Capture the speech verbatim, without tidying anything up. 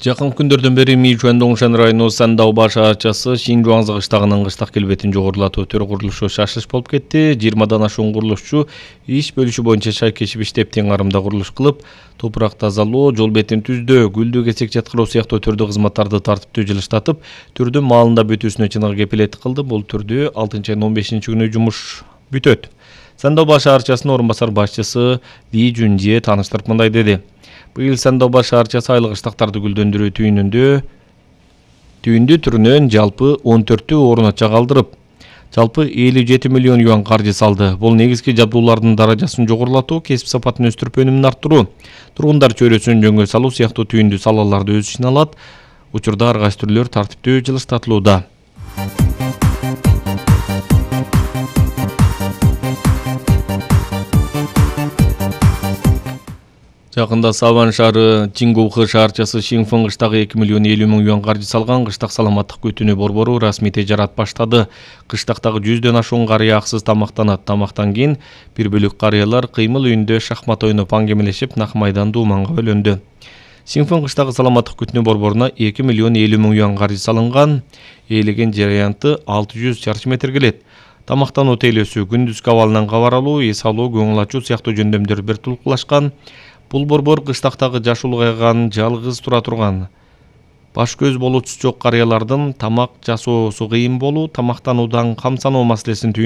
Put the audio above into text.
Жакын күндөрдөн бери Мичуан Доңшан району Сандау шаарчасы Шинжуаңзы кыштагынын кыштак келбетин жогорулатуу өтөр курулушу шашылыш болуп кетти. жыйырмадан ашуун курулушчу иш бөлүшү боюнча шайкешип иштеп, тең арымда курулуш кылып, топурак тазалоо, жол бетин түздөө, гүлдүү кесек жаткыруу сыяктуу түрдүү кызматтарды тартиптүү жылыштатып, түрдүн маалында бүтүүсүнө чыныгы кепилеттик кылды. Бул түрдүү алтынчы айдын он бешинчи күнү жумуш бүтөт. Сандау шаарчасынын орун басар башчысы Ли Жунжие тааныштырып мындай деди. Быйыл Сандау шаарчасы айлык кыштактарды гүлдөндүрүү түйүнүндө түйүндү түрүнөн жалпы он төрттү орун ача калдырып, жалпы элүү жети миллион юан каржы салды. Бул негизги жабдуулардын даражасын жогорулатуу, кесип сапатын өстүрүп өнүмүн арттыруу, тургундар чөйрөсүн жөнгө салуу сыяктуу түйүндү салаларды өз ичине алат. Учурда ар кайсы түрлөр тартиптүү жылыштатылууда. Жакында Саван шаары Чингухы шаарчасы Шинфэн кыштагы эки миллион элүү миң юан каржы салган кыштак саламаттык күтүүнү борбору расмий тежарат баштады. Кыштактагы жүздөн ашуун карыя аксыз тамактанат. Тамактан кийин бир бөлүк карыялар кыймыл үйүндө шахмат ойноп аңгемелешип, нак майдан дууманга бөлөндү. Шинфэн кыштагы саламаттык күтүүнү борборуна эки миллион элүү миң юан каржы салынган. Ээлеген жер аянты алты жүз чарчы метр келет. Тамактануу тейлөөсү, күндүзгү абалынан кабар алуу, эс алуу, көңүл ачуу сыяктуу жөндөмдөр бир тулкулашкан. Бул борбор кыштактагы жашы улгайган, жалгыз тура турган, баш көз болуусу жок карыялардын тамак жасоосу кыйын болуу, тамактануудан камсануу маселесин